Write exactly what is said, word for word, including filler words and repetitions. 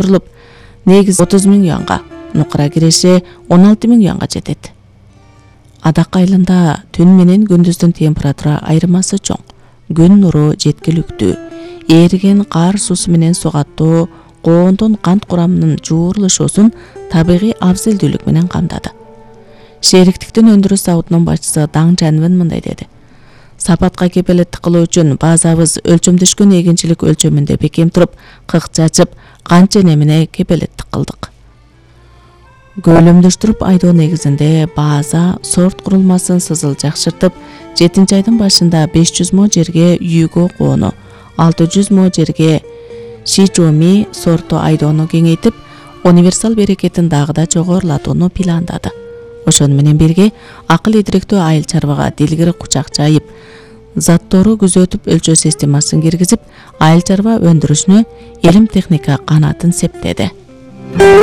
көтөрүлүп, негиз отуз миң юанга, нукура киреше он алты миң юанга жетет. Адак айылында түн менен күндүздүн температура айырмасы чоң. Күн нуру жеткиликтүү, ээриген кар суусу менен сугаттуу коондун кант курамынын жуурулушуусун табигый абзелдүүлүк менен камдады. Шериктиктин өндүрүш заводунун башчысы Даң Жанвен мындай деди: Сапатка кепилеттик кылуу үчүн базабыз өлчөмдөшкөн эгинчилик өлчөмүндө бекем туруп, кык чачып, кант және менен кепилеттик кылдык. Көлөмдөштүрүп айдоо негизинде база сорт курулмасын сызыл жакшыртып, жетинчи айдын башында беш жүз мо жерге Юго коону, алты жүз мо жерге Шичоми сорту айдоону кеңейтип, универсал берекетин дагы да жогорулатууну пландады. Ошону менен бирге акыл идиректүү айыл чарбага дилгири кучак жайып, заттору күзөтүп өлчөө системасын киргизип, айыл чарба өндүрүшүнө илим техника канатын септеди.